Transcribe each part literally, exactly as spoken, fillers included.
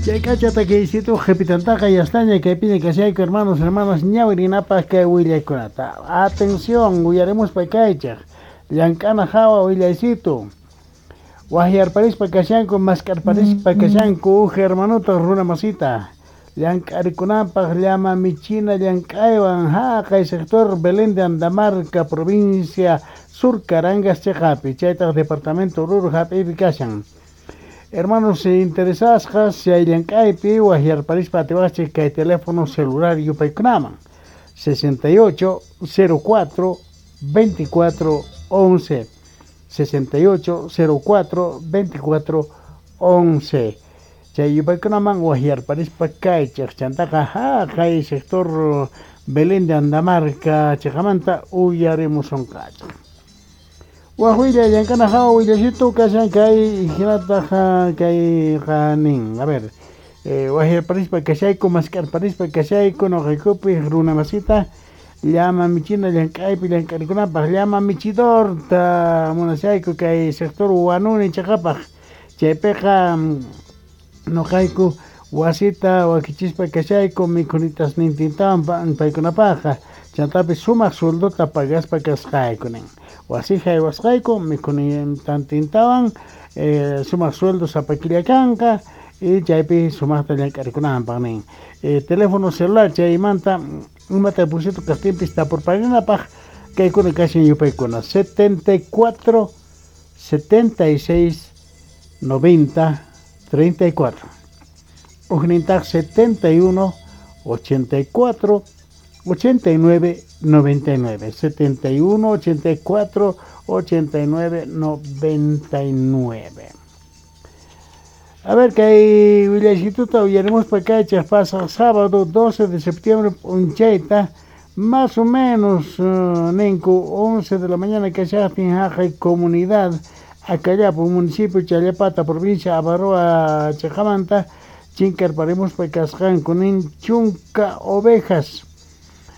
Chay k'acha takiysitu qhipitantaqa yastaña kaypiña kashayku, hermanos, hermanas, ñawirinapaq kay willaykunata. Atención, uyarimuspa kaychaq. Llank'ana hawa willaysitu. Waqyarparispa kashanku, mask'arparispa kashanku uj hermanota runa masita. Llank'arikunapaq llama michina llank'aywan haqay sector Belén de Andamarca, provincia Sur Carangas chiqapi, chaytaq departamento Oruro hap'iypi kashan. Hermanos interesasqas chay llank'aypi waqyarparispa atiwaqchik kay teléfono celular yupaykunaman sesenta y ocho cero cuatro veinticuatro once, sesenta y ocho cero cuatro veinticuatro once. Chay yupaykunaman waqyarparispa kaychaq. Chantaqa haqay sector Belén de Andamarca chiqamanta uyarimusunqachaq. Waj willay, llank'ana hawa willasitu kashan kay hinataq kayqa nin, a ver, eh, waqyarparispa kashayku, mask'arparispa kashayku nuqaykupi runa masita llama michina llank'aypi llank'arikunapaq, llama michidorta munashayku kay sector Huanuni chiqapaq. Chaypiqa nuqayku wasita wakichispa kashayku mikhunitasnintintawan paykunapaqqa, chantapis sumaq sueldota pagaspa kasqayku nin. Wasi haywasqayku mikhunitantintawan, eh, sumaq sueldo sapa killa kanqa y chaypi sumaqta llank'arikunanpaq nin. eh, teléfono celular chaymanta imata pusito kaqtinpis tapurparinapaq kaykuna kashan yupaykuna: setenta y cuatro setenta y seis noventa treinta y cuatro, ujnintaq setenta y uno ochenta y cuatro ochenta y nueve noventa y nueve, setenta y uno ochenta y cuatro ochenta y nueve noventa y nueve. A ver, kay willaysituta uyarimuspa kaychaq. Pasaq sábado doce de septiembre p'unchayta, más o menos uh, ninku once de la mañana kashaqtin, haqay comunidad Acallapu, municipio Challapata, provincia Abaroa chiqamanta chinkarparimuspa kasqanku nin chunka ovejas,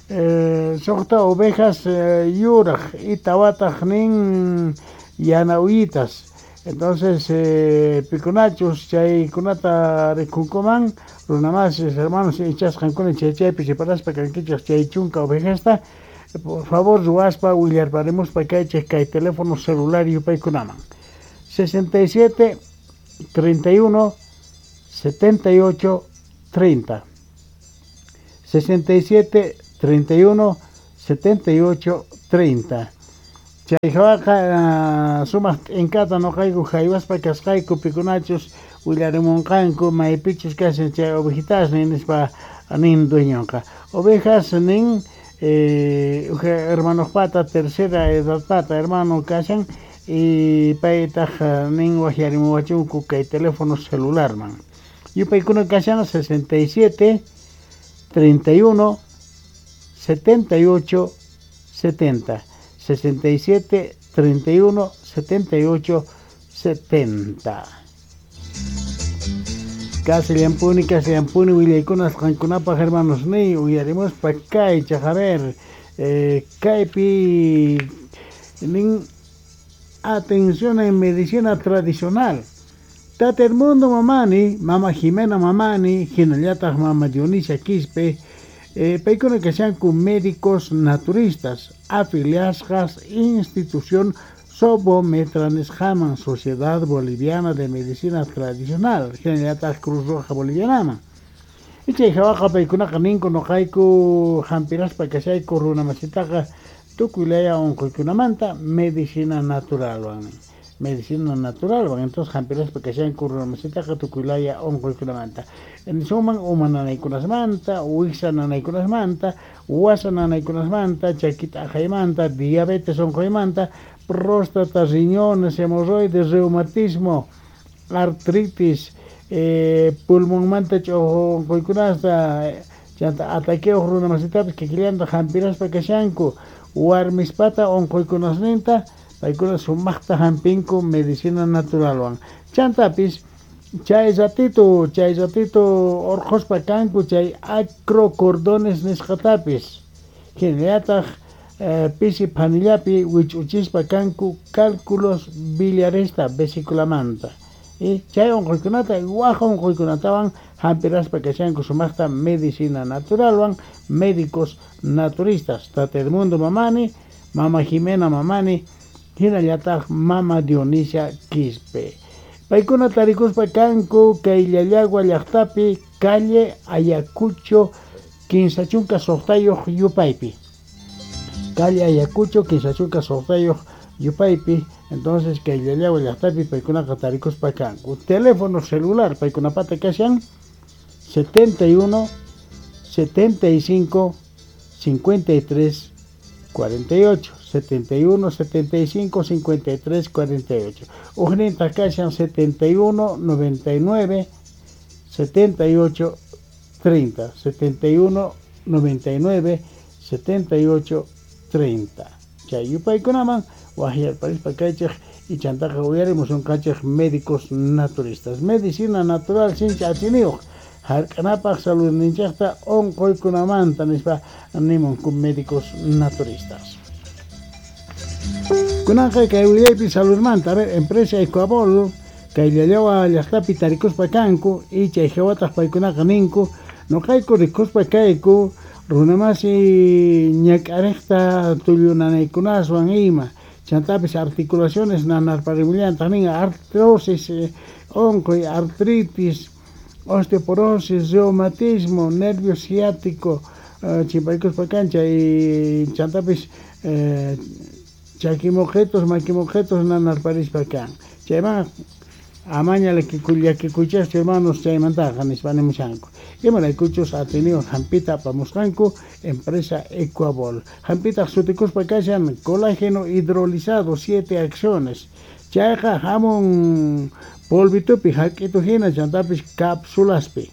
eh, suqta ovejas eh, yuraq y tawataq nin yana uyitas. Entonces, eh, pikunachus chaykunata rikunkuman, runamasis, hermanos, ichasqankuna chay chaypi separaspa kankichaq chay chunka ovejasta, por favor ruwaspa willarparimuspa kaychik kay teléfono celular yupaykunaman: sesenta y siete treinta y uno setenta y ocho treinta, sesenta y siete treinta y uno setenta y ocho treinta. Chay hawaqa sumaq t'inkata nuqayku haywaspa kasqayku pikunachus willarimunqanku maypichus kashan chay ovejitasnin nispa nin dueñonqa. Ovejas nin eh, hermanojpata, tercera edadpata hermano kashan y paytaq nin waqyarimuwachunku kay teléfono celularman. Yupaykuna kashan sesenta y siete treinta y uno setenta y ocho setenta, sesenta y siete treinta y uno setenta y ocho setenta. Kasillanpuni, kasillanpuni willaykunas qankunapaq, hermanos niy. Uyarimuspa kaychaq, a ver, eh, kaypi nin: atención en medicina tradicional. Tata Edmundo Mamani, Mama Jimena Mamani, hinallataq Mama Dionisia Quispe, eh, paykuna kashanku médicos naturistas afiliasqas institución Sobometra nisqaman, Sociedad Boliviana de Medicina Tradicional, hinallataq Cruz Roja Bolivianaman. Chay hawaqa paykunaqa ninku: nuqayku hampiraspa kashayku runa masitaqa tukuy laya unquykunamanta medicina naturalwan, medicina naturalwan. Entonces hampiraspa kashanku runa masitaqa tukuy laya unquykunamanta, nisunman uma nanaykunasmanta, wiksa nanaykunasmanta, wasa nanaykunasmanta, chaki t'aqaymanta, diabetes unquymanta, próstata, riñones, hemorroides, reumatismo, artritis, eh, pulmonmanta ch'uqu unquykunasta, chanta ataqueuq runa masitapis kikillanta hampiraspa kashanku. Warmispata unquykunasninta paykuna sumaqta hampinku medicina naturalwan. Chantapis chay ratito chay ratito urqhuspa kanku chay acrocordones nisqatapis, hinallataq eh, pisi phanillapi wich'uchispa kanku cálculos biliaresta, vesiculamanta. Chay onqoykunata waj onqoykunatawan hampiraspa kashanku sumaqta medicina naturalwan médicos naturistas Tata Edmundo Mamani, Mama Jimena Mamani, hinallataq Mama Dionisia Quispe. Paykuna tarikuspa kanku kay Llallagua llaqtapi calle Ayacucho kinsa chunka suqtayuq yupaypi. Calle Ayacucho kinsa chunka suqtayuq yupaypi. Entonces kay Llallagua llaqtapi paykunaqa tarikuspa kanku. Teléfono celular paykunapata kashan setenta y uno, setenta y cinco, cincuenta y tres, cuarenta y ocho, setenta y uno, setenta y cinco, cincuenta y tres, cuarenta y ocho. Ujninta kashan setenta y uno, noventa y nueve, setenta y ocho, treinta, setenta y uno, noventa y nueve, setenta y ocho, treinta. Chay yupaykunaman wajyarparispa kaychej y chantaqa uyarimusun kachej médicos naturistas. Medicina natural sincha atiniyuq hark'anapaq saludninchaqta onqoykunamanta nispa nimunku médicos naturistas. Kunanqa kay willaypi saludmanta, a ver, empresa Ecuabol kay Llallagua llaqtapi tarikuspa kanku y chay hawataq paykunaqa ninku noqayku rikuspa kayku runamasi ñak'ariqta tullunanaykunaswan ima chantapis articulaciones nanarparimullantaq nin artrosis, onqoy, artritis, osteoporosis, reumatismo, nervio ciático, chimpaykuspa kan chay chantapis eh, chakimoqetos, makimoqetos nanarparispa kan. Chayman amaña llakikuychaschu hermanos chaymantaqa nispa nimushanku. Imaraykuchus atiniyuq hampita apamusqanku empresa Ecuabol. Hampitaq sutikuspa kashan colágeno hidrolizado siete acciones. Chayqa hamun polvitupi hak'itu hina chantapis cápsulaspi.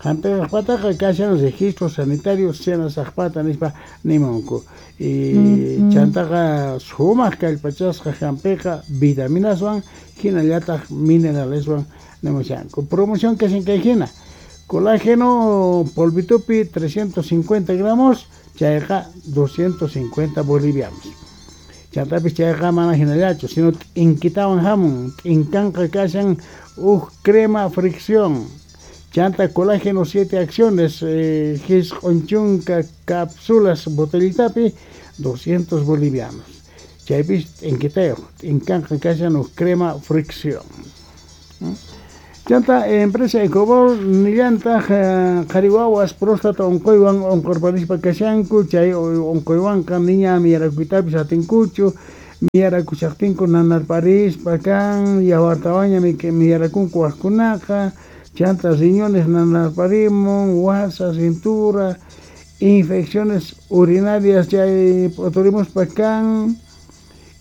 Hampiqpataqa kashan registro sanitario senasaqpata nispa nimunku. Y chantaqa sumaq kallpachasqa hampiqa vitaminaswan hinallataq mineraleswan nimushanku. Promoción kashan kay hina. Colágeno polvitupi trescientos cincuenta gramos, chayqa doscientos cincuenta bolivianos. Chantapis chayqa mana hinallachu, sino t'inkitawan hamun, t'inkanqa kashan uj crema fricción. Chanta colágeno siete acciones, eh, jisq'un chunka cápsulas botellitapi doscientos bolivianos. Chaypis t'inquitayuq, t'inkanqa kashan uj crema fricción. Chanta empresa Ecobol nillantaq qhari wawas próstata onqoywan onqorparispa kashanku, chay onqoywanqa niña miyarakuytapis atinkuchu, miyarakushaqtinku nanarparispa kan, yawartawanña miyarakunku wajkunaqa, chanta riñones nanarparimun, wasa, cintura, infecciones urinarias chay p'uturimuspa kan.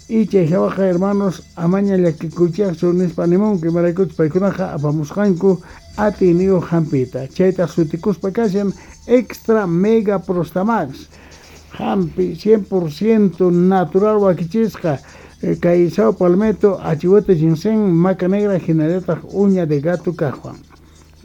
Y chay hawaqa hermanos amaña llakikuychaqchu nispa nimunku imaraykuchus paykunaqa apamusqanku atiyniyuq hampita. Chaytaq sutikuspa kashan Extra Mega Prostamax hampi cien por ciento natural wakichisqa kay Sao Palmetto, achihuete ginseng, maca negra hinallataq uña de gato kajwan.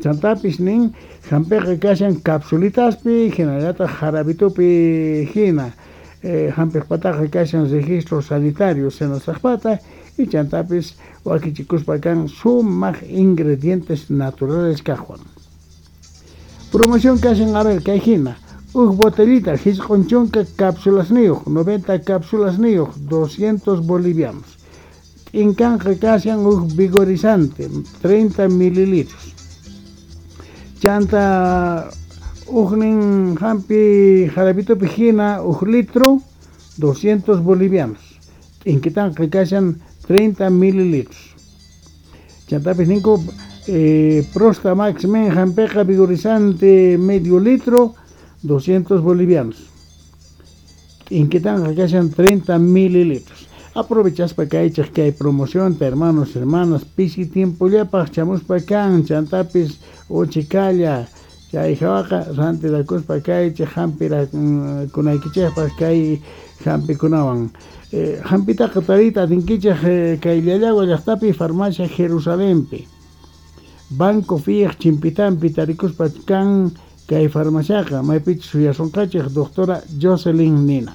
Chantapis nin hampiqa kashan capsulitaspi hinallataq jarabitupi hina. Eh, hampiqpataqa kashan registro sanitario senasaqpata y chantapis wakichikuspa kan sumaq ingredientes naturales kajwan. Promoción kashan a ver kay hina. Uj botellita jisq'un chunka cápsulasniyuq, noventa cápsulasniyuq, doscientos bolivianos. T'inkanqa kashan uj vigorizante, treinta mililitros. Chanta ujnin hampi jarabitupi hina uj litro, doscientos bolivianos. T'inkitanqa kashan treinta mililitros. Chantapis ninku eh, Prostamax men hampiqa vigorizante medio litro, doscientos bolivianos. T'inkitanqa kashan treinta mililitros. Aprovechaspa kaychaq kay promoción, hermanos, hermanas, pisi tiempollapaq chamuspa kan, chantapis uchikalla. Chay hawaqa rantirakuspa kaychaq hampirakunaykichaqpaq kay hampikunawan. Eh, hampitaqa tariyta atinkichaq eh, kay Llallagua llaqtapi farmacia Jerusalempi. Banco Fiej chimpitampi tarikuspa kan kay farmaciaqa maypichus suyasunqachik doctora Jocelyn Nina.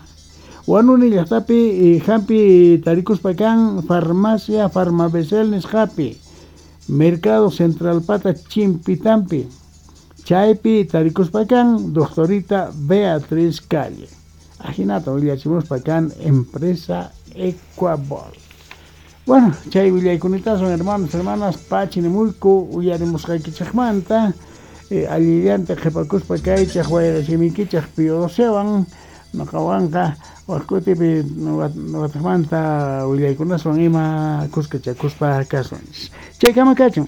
Huanuni llaqtapi hampi tarikuspa kan farmacia Farmabesel nisqapi. Mercado Central pata Chimpitampi. Chaypi tarikuspa kan doctorita Beatriz Calle. Ajinata willachimuspa kan empresa Ecuabol. Bueno, chay willaykunitasun hermanos, hermanas, pachinimuyku uyarimusqaykichikmanta eh, allillanta qhipakuspa kaychaq wayrachimikichaq Pío noqawanqa waqkutipi wataqmanta willaykunaswan ima kuskachakuspa kasunchis. Chaykama kachun.